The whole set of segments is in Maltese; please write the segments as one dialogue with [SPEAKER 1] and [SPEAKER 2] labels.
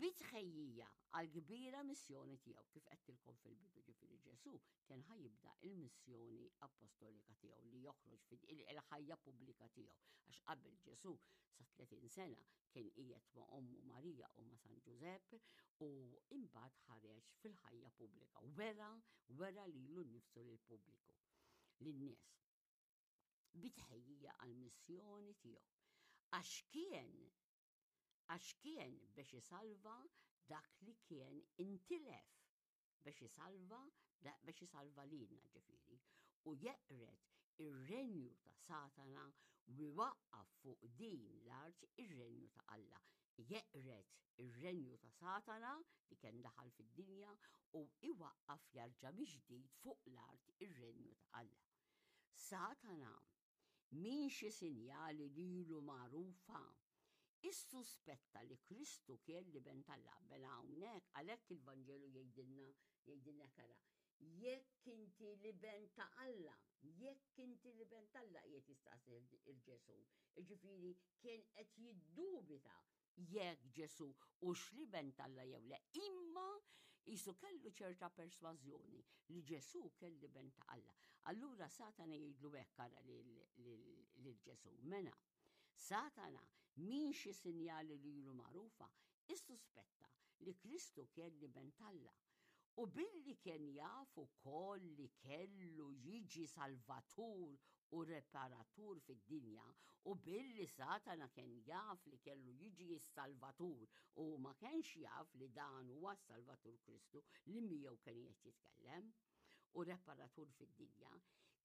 [SPEAKER 1] Bi tħejjija għall-kbira missjoni tiegħu, kif għedtilkom fil-bidu ġifieri Ġesù kien ħa jibda il-missjoni apostolika tiegħu li joħroġ fil-ħajja pubblika tiegħu. Għax qabel Ġesù sa 30 sena kien qiegħed ma' ommu Marija u ma' San Ġużepp u imbagħad ħareġ fil-ħajja pubblika. Wera, wera lilu nnifsu lill-pubbliku, lin-nies. Bi tħejjija għall-missjoni tiegħu. Għax kien għax kien biex isalva dak li kien intilef biex isalva biex isalva lilna ġifieri u jeqred ir-renju ta' Satana u jwaqqaf fuq din l-art ir-renju ta' Alla. Jeqred ir-renju ta' Satana li kien daħal fid-dinja u iwaqqaf jarġa' mill-ġdid fuq l-art ir-renju ta' Alla. Satana Minn xi sinjali lilu magħrufa, issuspetta li Kristu kien l-Iben t'Alla. Mela hawnhekk għalhekk il-Vanġelu jgħidilna jgħidilna kara, jekk inti l-Iben ta' Alla, jekk inti l-Iben t'Alla qiegħed jistaqsi il-Ġesu. Jiġifieri kien qed jiddubita jekk Ġesù hux l-Iben t'Alla jew le, imma jisu kellu ċerta persważjoni li Ġesù kien l-Iben ta' Alla. Allura Satana jgħidlu hekk ara lil Ġesù. Mela, Satana min xi sinjali lilu magħrufa, issuspetta li Kristu kien l-Iben t'Alla. U billi kien jaf ukoll li kellu jiġi salvatur u reparatur fid-dinja, u billi Satana kien jaf li kellu jiġi s-salvatur u ma kienx jaf li dan huwa s-salvatur Kristu li miegħu kien qed jitkellem, u reparatur fid-dinja,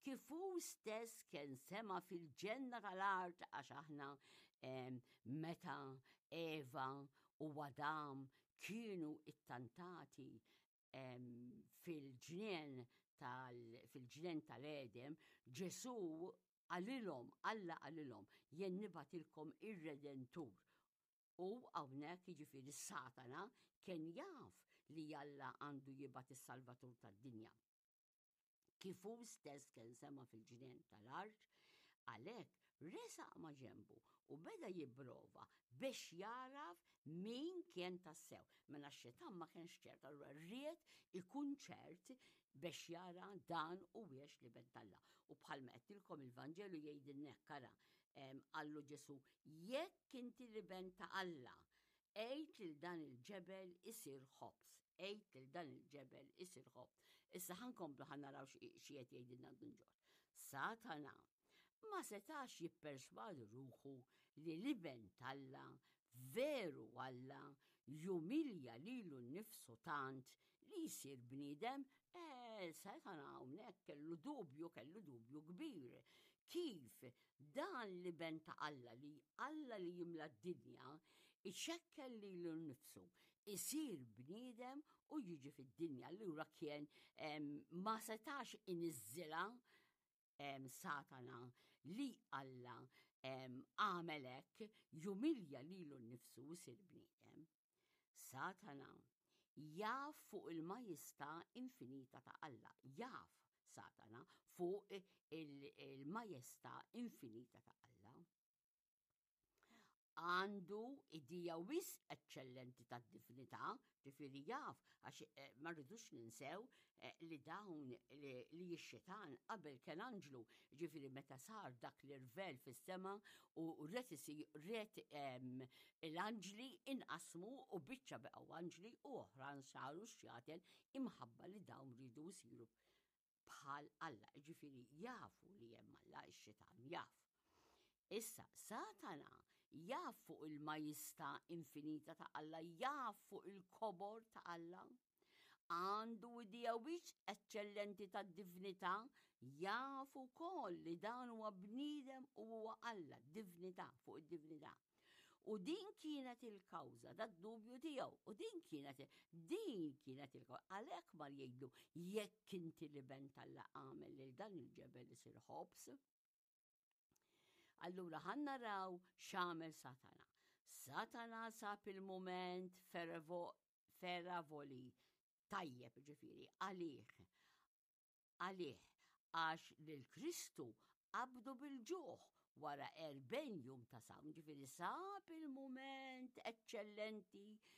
[SPEAKER 1] kif hu stess kien sema fil-ġenna tal-art għax aħna meta Eva u Adam kienu ittantati fil-ġnien tal fil-ġnien tal-Edem, Ġesù qalilhom, Alla qalilhom, jien nibgħatilkom ir-Redentur. U hawnhekk jiġifieri Satana kien jaf li Alla għandu jibgħat is-Salvatur tad-dinja. Kif hu stess kien sema fil-ġnien tal-art, għalhekk resaq ma' ġenbu u beda jipprova biex jaraf min kien tassew. Mela x-xitan ma kienx ċert, allura ried ikun ċert biex jara dan huwiex l-Iben t'Alla. U bħalma għedtilkom il-Vanġelu jgħidilna hekk ara, qallu Ġesu, jekk inti l-Iben ta' Alla, Għid lil dan il-ġebel isir ħobż. Għid lil dan il-ġebel isir ħobż. Issa ħa nkomplu ħa naraw xi qed jgħidilna Dun Ġorġ. Satana ma setax jipperswadi ruħu li l-Iben t'Alla veru Alla jumilja lilu nnifsu tant li jsir bniedem, eh, Satana hawnhekk kellu dubju, kellu dubju kbir. Kif Dan l-Iben ta' Alla li Alla li jimla d-dinja, ixekkel lilu nnifsu, isir bniedem u jiġi fid-dinja. Allura kien ma setax iniżżilha Satana li Alla għamel hekk jumilja lilu nnifsu u jsir bniedem. Satana jaf fuq il-majestà infinita ta' Alla, jaf Satana fuq il-majestà infinita ta' Alla. Għandu idea wisq eċċellenti tad-divinità, ġifieri jaf, għax eh, ma rridux ninsew eh, li dawn li x-xitan qabel kien anġlu, ġifieri meta sar dak l-irvel fis-sema u ret ret l-anġli inqasmu u biċċa beqgħu anġli u oħran saru xjaten imħabba li dawn ridu jsiru bħal Alla, ġifieri jafu li hemm Alla x-xitan jaf. Issa, Satana jaf fuq il-majestà infinita ta' Alla, jaf fuq il-kobor ta' Alla. Għandu idea wisq eċċellenti tad-divinità, jaf ukoll li dan huwa bniedem u huwa Alla, divinità fuq id-divinità. U din kienet il-kawża tad-dubju tiegħu, u din kienet din kienet il-kawża. Għalhekk mar jgħidlu jekk inti l-iben t'Alla għamel lil dan il-ġebel isir ħobż. Allura ħa naraw x'għamel Satana. Satana sab il-mument feravoli tajjeb ġifieri għalih. Għalih għax lil Kristu qabdu bil-ġuħ wara 40 jum ta' sawm, ġifieri sab il-mument eċċellenti.